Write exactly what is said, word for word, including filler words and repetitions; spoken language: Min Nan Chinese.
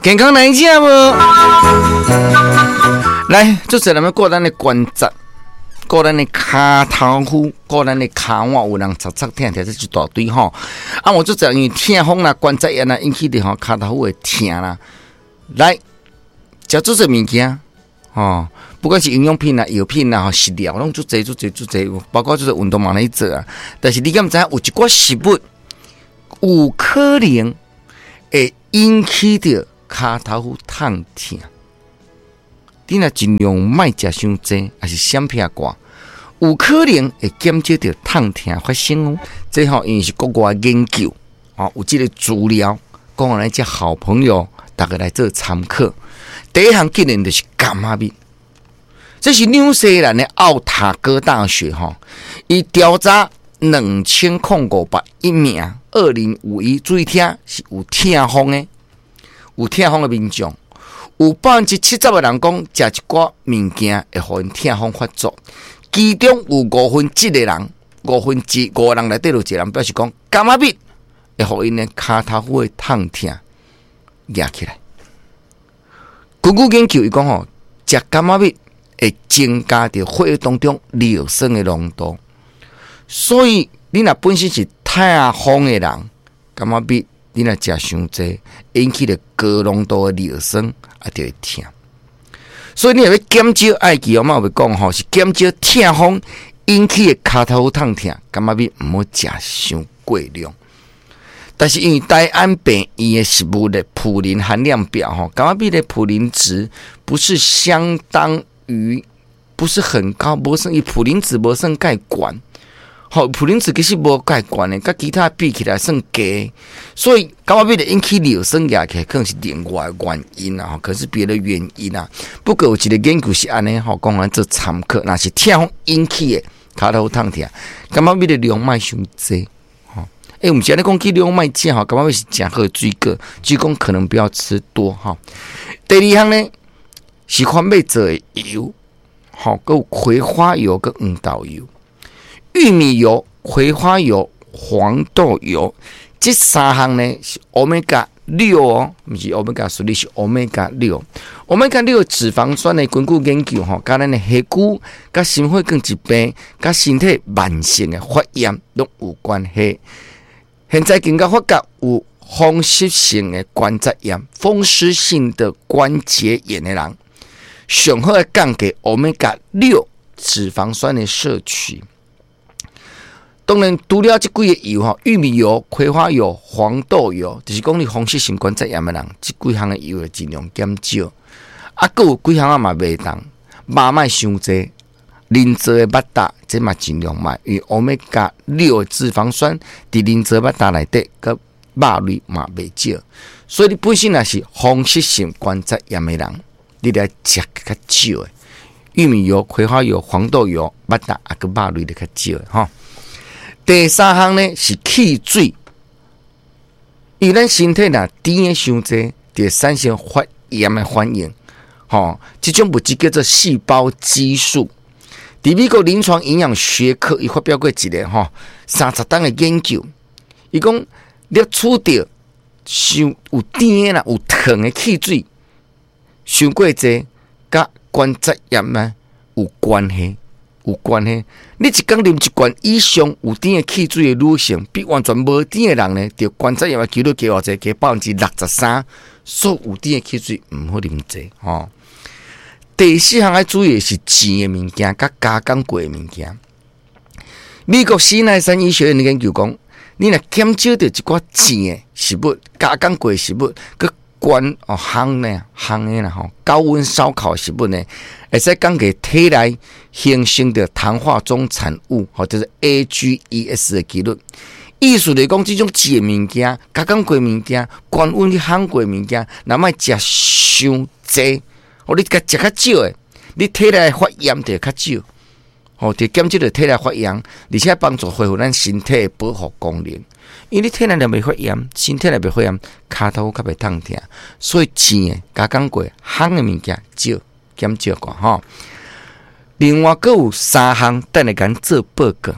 健康來食無？來，做陣咱顧咱的關節，顧咱的跤頭趺，顧咱的跤腕，有人擦擦疼疼，這一大堆吼。啊，我做陣因為痛風啦、關節炎啦，引起的吼跤頭趺會疼啦。來，食做濟物件，吼，不管是營養品啦、藥品啦、吼食療，攏足濟、足濟、足濟，包括就是運動嘛咧做啊。但是你敢知影有一寡食物有可能會引起著跤頭趺痛疼？你若盡量莫食傷濟，抑是閃避過，有可能會減少著痛疼發生哦。這吼因為是國外研究，吼有這個資料，講予咱遮好朋友逐家來做參考。第一項竟然就是柑仔蜜，這是紐西蘭的奧塔哥大學吼，伊調查兩千空五百一名，二零五一注意聽，是有痛風的，有痛風的民眾，有百分之七十的人講，食一寡物件會予𪜶痛風發作，其中有五分之一的人，五分之五人內底有一個人表示講，柑仔蜜會予𪜶的跤頭趺的痛疼壓起來。根據研究，伊講吼，食柑仔蜜會增加佇血液當中尿酸的濃度，所以你若本身是痛風的人，柑仔蜜你若食傷濟，引起著高濃度的尿酸，啊，就會疼。所以你若欲減少，愛記我嘛有講吼，是減少痛風引起的跤頭趺痛疼，柑仔蜜毋好食傷過量。但是因為台安病院的食物的普林含量表吼，柑仔蜜的普林值不是相當於，不是很高，無算伊普林值無算蓋懸，吼，普林值其實無蓋懸的，佮其他比起來算低，所以柑仔蜜會引起尿酸壓起來，可能是另外原因啊，可是別的原因啊。不過有一個研究是按呢吼，講來做參考，若是痛風引起的跤頭痛疼，柑仔蜜的量莫傷濟。欸，毋是按呢講去量莫食吼，柑仔蜜是誠好的水果，只講可能不要吃多吼。第二項呢是番麥做的油，吼，閣有葵花油佮黃豆油、玉米油、葵花油、黃豆油，這三項呢是歐米伽六哦，毋是 omega three，是 omega 六。歐米伽六脂肪酸的根據研究吼，佮咱的血骨、佮心血管疾病、佮身體慢性的發炎攏有關係。現在更加發覺有風濕性的關節炎、風濕性的關節炎的人，上好愛降低歐米伽六脂肪酸的攝取。當然，除了這幾個油吼，玉米油、葵花油、黃豆油，就是講你風濕性關節炎的人，這幾項的油會盡量減少。啊，閣有幾項仔嘛袂當，肉莫傷濟。人造的肉罩，這嘛盡量莫，因為歐米伽六脂肪酸佇人造肉罩內底，閣肉類嘛袂少，所以你本身若是風濕性關節炎的人，你著愛食較少的玉米油、葵花油、黃豆油、肉罩啊，閣肉類著較少的吼。第三項呢是汽水，因為咱身體若甜的傷濟，就會產生發炎的反應，吼，這種物質叫做細胞激素。佇美國臨床營養學科，伊發表過一個吼三十冬的研究，伊講攝取著傷有甜的啦，有糖的汽水，傷過濟，佮關節炎呢有關係，有關係。你一工啉一罐以上有甜的汽水的女性，比完全無甜的人呢，著關節炎的幾率加偌濟？加百分之六十三。所以有甜的汽水毋好啉濟吼。第四項愛注意的是煎的物件，佮加工過的物件。美國西奈山醫學院的研究講，你若減少著一寡煎的食物、加工過的食物，閣關哦烘呢、烘的啦吼，高溫燒烤的食物呢，會使降低體內形成著糖化終產物，吼，就是 A G E S 的幾率。意思就是講，這種煎的物件、加工過的物件、高溫去烘過的物件，若莫食傷濟。哦，你共食較少的，你體內發炎就會較少，吼，就減少著體內發炎，而且幫助恢復咱身體的保護功能。因為你體內若袂發炎，身體內袂發炎，跤頭較袂痛疼。所以煎的、加工過、烘的物件少減少寡吼。另外，閣有三項，等下共做報告。